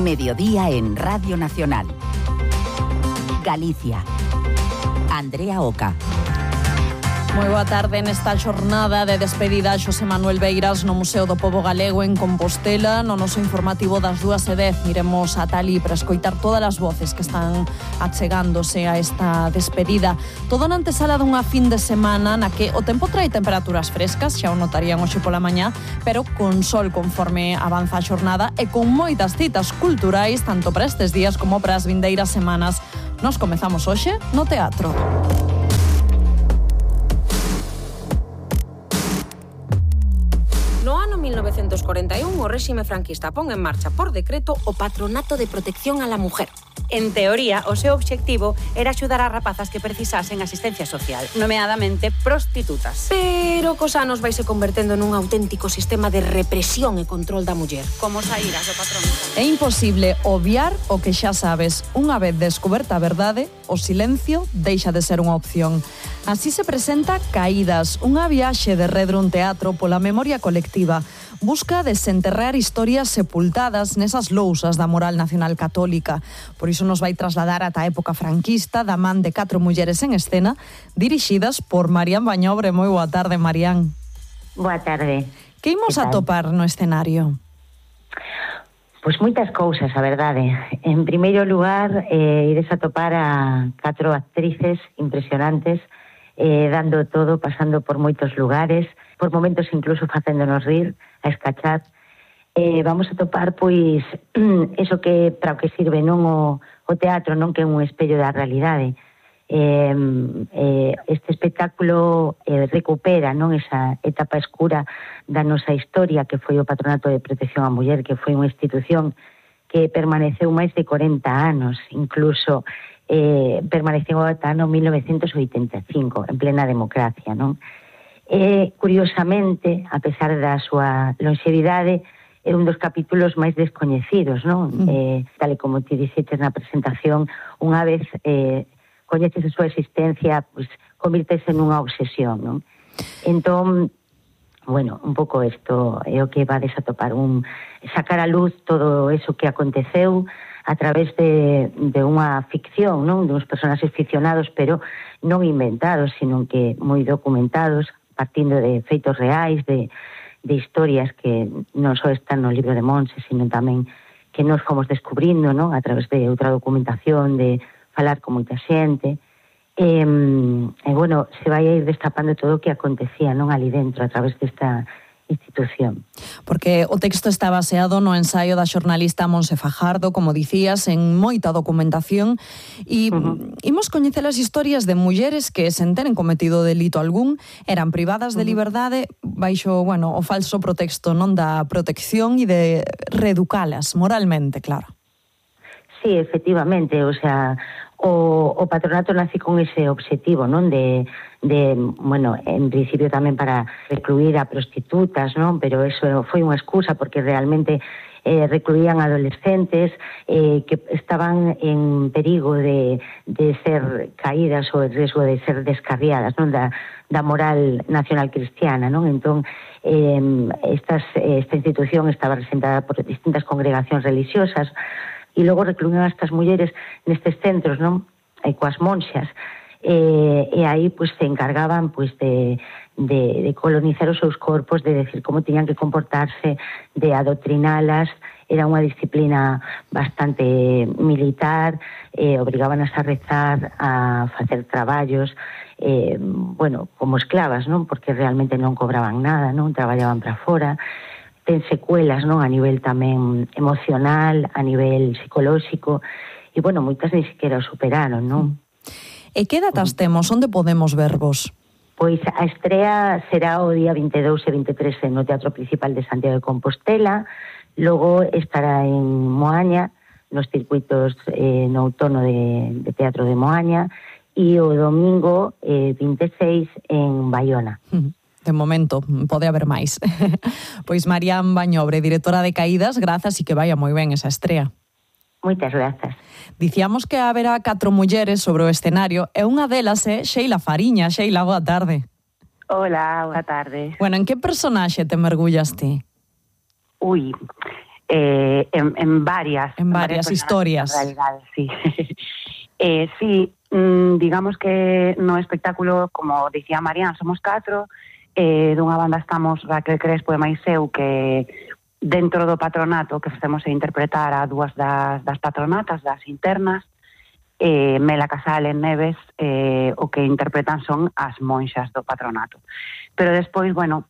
Mediodía en Radio Nacional. Galicia. Andrea Oca. Moi boa tarde nesta xornada de despedida a Xosé Manuel Beiras no Museo do Pobo Galego en Compostela. No noso informativo das 2:10 iremos ata ali para escoitar todas as voces que están achegándose a esta despedida. Todo na antesala dunha fin de semana na que o tempo trae temperaturas frescas, xa o notarían hoxe pola mañá, pero con sol conforme avanza a xornada e con moitas citas culturais tanto para estes días como para as vindeiras semanas. Nos comezamos hoxe no teatro. No ano 1941, o réxime franquista pon en marcha por decreto o Patronato de Protección a la Mujer. En teoría, o seu obxectivo era axudar a rapazas que precisasen asistencia social, nomeadamente prostitutas. Pero cos anos vaise convertendo nun auténtico sistema de represión e control da muller. Como saíras do patronato? É imposible obviar o que xa sabes. Unha vez descoberta a verdade, o silencio deixa de ser unha opción. Así se presenta Caídas, unha viaxe de Redrun Teatro pola memoria colectiva. Busca desenterrar historias sepultadas nesas lousas da moral nacional católica. Por iso nos vai trasladar ata a época franquista da man de 4 mulleres en escena, dirixidas por Marián Bañobre. Moi boa tarde, Marián. Boa tarde. Que imos atopar no escenario? Pois moitas cousas, a verdade. En primeiro lugar, ides a topar a 4 actrices impresionantes, dando todo, pasando por moitos lugares, por momentos incluso facéndonos rir, a escachar. Vamos a topar, pois, eso que para o que sirve non o teatro, non que é un espello da realidade. Este espectáculo recupera non esa etapa escura da nosa historia, que foi o Patronato de Protección á Muller, que foi unha institución que permaneceu máis de 40 anos, incluso permaneceu ata no 1985, en plena democracia, non? Curiosamente, a pesar da súa longevidade, é un dos capítulos máis descoñecidos, non? Tal e como ti dixetes na presentación, unha vez coñeces a súa existencia, pues, convírtese nunha obsesión, non? Entón, bueno, un pouco isto é o que vades a topar, sacar a luz todo eso que aconteceu a través de unha ficción, non? De uns personaxes ficcionados, pero non inventados, sino que moi documentados, partindo de feitos reais, de historias que non só están no libro de Monse, sino tamén que nos fomos descubrindo, non? A través de outra documentación, de falar con moita xente. E bueno, se vai a ir destapando todo o que acontecía, non? Ali dentro, a través desta institución. Porque o texto está baseado no ensaio da xornalista Monse Fajardo, como dicías, en moita documentación, e imos coñecer as historias de mulleres que, sen teren cometido delito algún, eran privadas de liberdade baixo, bueno, o falso pretexto, non, da protección e de reeducalas moralmente, claro. Sí, efectivamente, o sea, o patronato nace con ese obxectivo, non, de bueno, en principio tamén para recluir a prostitutas, non, pero eso foi unha excusa porque realmente recluían adolescentes que estaban en perigo de ser caídas ou en riesgo de ser descarriadas, non, da moral nacional cristiana, non? Entón, esta institución estaba representada por distintas congregacións religiosas e logo recluían a estas mulleres nestes centros, non? Coas monxas. E aí, pois, se encargaban, pois, de colonizar os seus corpos, de decir como tiñan que comportarse, de adoctrinalas. Era unha disciplina bastante militar, obrigábanas a rezar, a facer traballos, bueno, como esclavas, non? Porque realmente non cobraban nada, non? Traballaban para fora. Ten secuelas, non, a nivel tamén emocional, a nivel psicolóxico, e, bueno, moitas ni siquiera o superaron, non? E que datas temos? Onde podemos vervos? Pois a estrea será o día 22 e 23 no Teatro Principal de Santiago de Compostela, logo estará en Moaña, nos circuitos no outono de Teatro de Moaña, e o domingo 26 en Baiona. De momento, pode haber máis. Pois Marián Bañobre, directora de Caídas, grazas e que vaya moi ben esa estrea. Moitas grazas. Dicíamos que haberá 4 mulleres sobre o escenario e unha delas é Sheila Fariña. Sheila, boa tarde. Hola, boa tarde. Bueno, en que personaxe te mergullas ti? en varias historias. En realidad, sí. Sí, digamos que no espectáculo, como dicía Marian, somos 4, dunha banda estamos Raquel Crespo e máis eu, que dentro do patronato que facemos a interpretar a 2 das patronatas, das internas, Mela Casal e Neves, o que interpretan son as monxas do patronato. Pero despois, bueno,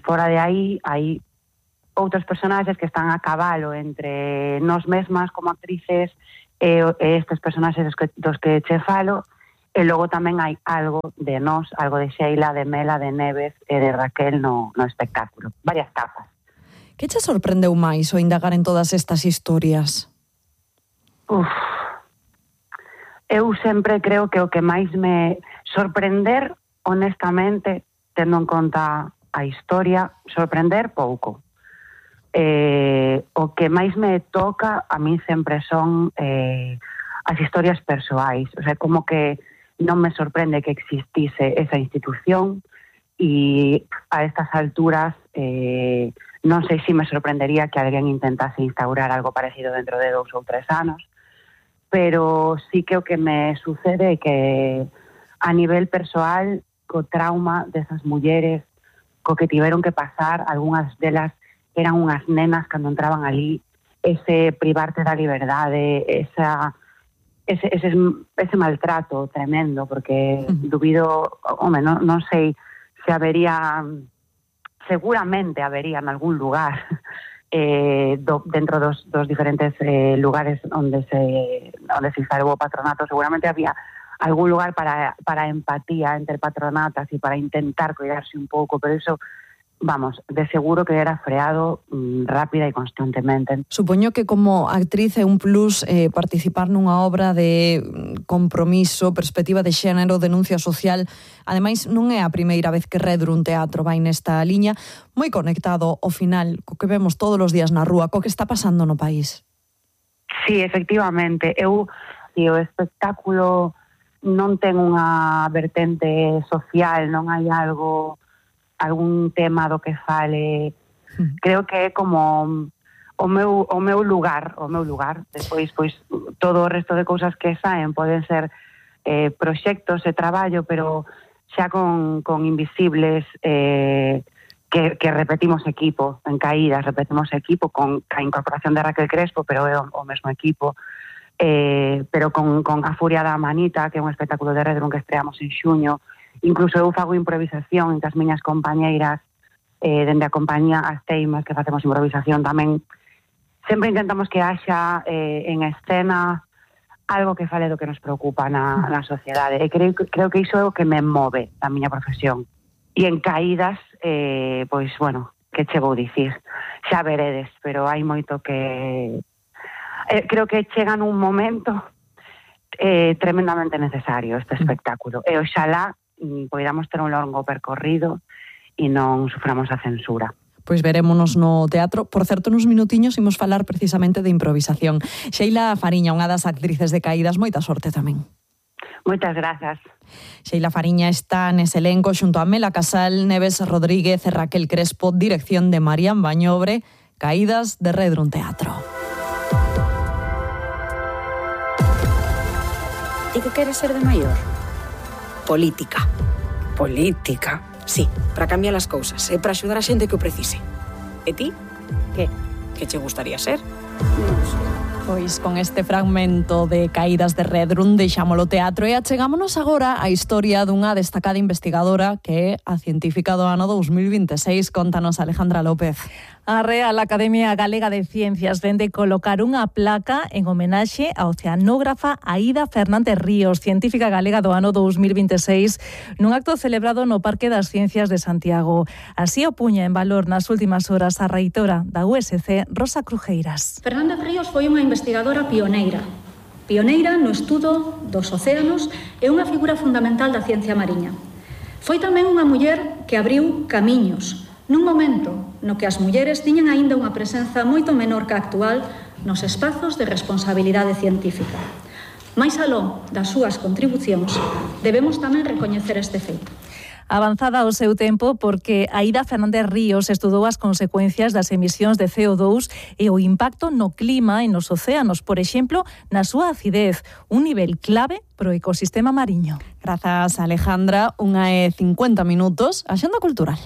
fora de aí, hai outros personaxes que están a cabalo entre nós mesmas como actrices e estes personaxes dos que che falo, e logo tamén hai algo de nós, algo de Sheila, de Mela, de Neves e de Raquel no espectáculo. Varias capas. Que che sorprendeu máis o indagar en todas estas historias? Eu sempre creo que o que máis me sorprender, honestamente, tendo en conta a historia, sorprender pouco. O que máis me toca a mí sempre son as historias persoais, o sea, como que non me sorprende que existise esa institución e a estas alturas non sei se me sorprendería que alguén intentase instaurar algo parecido dentro de 2 ou 3 anos, pero sí que o que me sucede é que a nivel persoal, co trauma desas mulleres, co que tiveron que pasar, algunhas delas eran unhas nenas cando entraban ali, ese privarte da liberdade, ese maltrato tremendo, porque dubido, non sei se habería, seguramente habería en algún lugar, dentro dos diferentes lugares onde se instalou o patronato, seguramente había algún lugar para empatía entre patronatas e para intentar cuidarse un pouco, pero eso, vamos, de seguro que era freado rápida e constantemente. Supoño que como actriz é un plus participar nunha obra de compromiso, perspectiva de xénero, denuncia social. Ademais, non é a primeira vez que Redrum Teatro vai nesta liña, moi conectado ao final co que vemos todos os días na rúa, co que está pasando no país. Sí, efectivamente. O espectáculo non ten unha vertente social, non hai algún tema do que fale. Creo que é como o meu lugar. Despois, pois, todo o resto de cousas que saen poden ser proxectos e traballo, pero xa con Invisibles, que repetimos equipo, en Caídas repetimos equipo, con a incorporación de Raquel Crespo, pero é o mesmo equipo, pero con A Furia da Manita, que é un espectáculo de Redrum que estreamos en xuño. Incluso eu fago improvisación entre as miñas compañeiras, dende a compañía As Teimas, que facemos improvisación tamén. Sempre intentamos que haxa en escena algo que fale do que nos preocupa na sociedade. E creo que iso é o que me move da miña profesión. E en Caídas, pois, bueno, que che vou dicir? Xa veredes, pero hai moito que... creo que chega nun momento tremendamente necesario este espectáculo. E oxalá poidamos ter un longo percorrido e non suframos a censura. Pois verémonos no teatro. Por certo, nos minutiños imos falar precisamente de improvisación. Sheila Fariña, unha das actrices de Caídas, moita sorte tamén. Moitas grazas. Sheila Fariña está nese elenco xunto a Mela Casal, Neves Rodríguez e Raquel Crespo, dirección de Marian Bañobre, Caídas de Redrum Teatro. E que queres ser de maior? Política. Política, sí, para cambiar as cousas e para axudar a xente que o precise. E ti? Que che gustaría ser? Non sei. Pois con este fragmento de Caídas de Redrum deixámolo teatro e achegámonos agora á historia dunha destacada investigadora que é a científica do ano 2026. Contanos, Alejandra López. A Real Academia Galega de Ciencias vende colocar unha placa en homenaxe á oceanógrafa Aída Fernández Ríos, científica galega do ano 2026, nun acto celebrado no Parque das Ciencias de Santiago. Así o puña en valor nas últimas horas a reitora da USC, Rosa Crujeiras. Fernández Ríos foi unha investigadora pioneira no estudo dos océanos e unha figura fundamental da ciencia mariña. Foi tamén unha muller que abriu camiños nun momento no que as mulleres tiñan aínda unha presenza moito menor que a actual nos espazos de responsabilidade científica. Mais aló das súas contribucións, debemos tamén recoñecer este feito. Avanzada ao seu tempo porque Aida Fernández Ríos estudou as consecuencias das emisións de CO2 e o impacto no clima e nos océanos, por exemplo, na súa acidez, un nivel clave pro ecosistema mariño. Grazas, Alejandra. 1:50 minutos. Axenda cultural.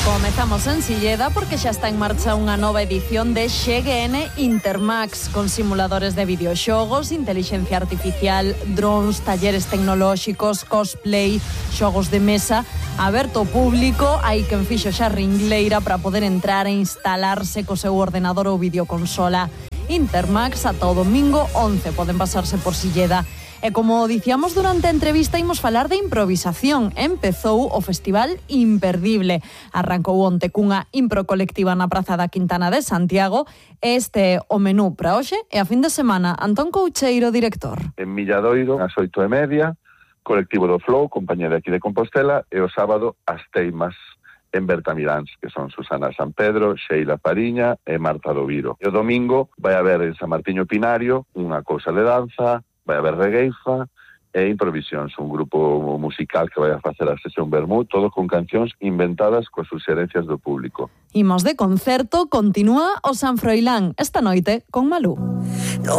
Comezamos en Silleda porque xa está en marcha unha nova edición de XGN Intermax con simuladores de videoxogos, intelixencia artificial, drones, talleres tecnolóxicos, cosplay, xogos de mesa, aberto ao público. Hai quen fixo xa ringleira para poder entrar e instalarse co seu ordenador ou videoconsola. Intermax ata o domingo 11 poden pasarse por Silleda. E como dicíamos durante a entrevista, imos falar de improvisación. Empezou o Festival Imperdible. Arrancou onte cunha impro colectiva na Praza da Quintana de Santiago. Este é o menú para hoxe e a fin de semana. Antón Coucheiro, director. En Milladoiro, ás 8:30, colectivo do Flow, compañía de aquí de Compostela, e o sábado, as Teimas, en Bertamiráns, que son Susana San Pedro, Sheila Fariña e Marta Doviro. E o domingo vai haber en San Martiño Pinario unha cousa de danza, vai haber regueifa e Improvisións, un grupo musical que vai a facer a sesión Vermú, todo con cancións inventadas coas suxerencias do público. Imos de concerto, continúa o San Froilán esta noite con Malú.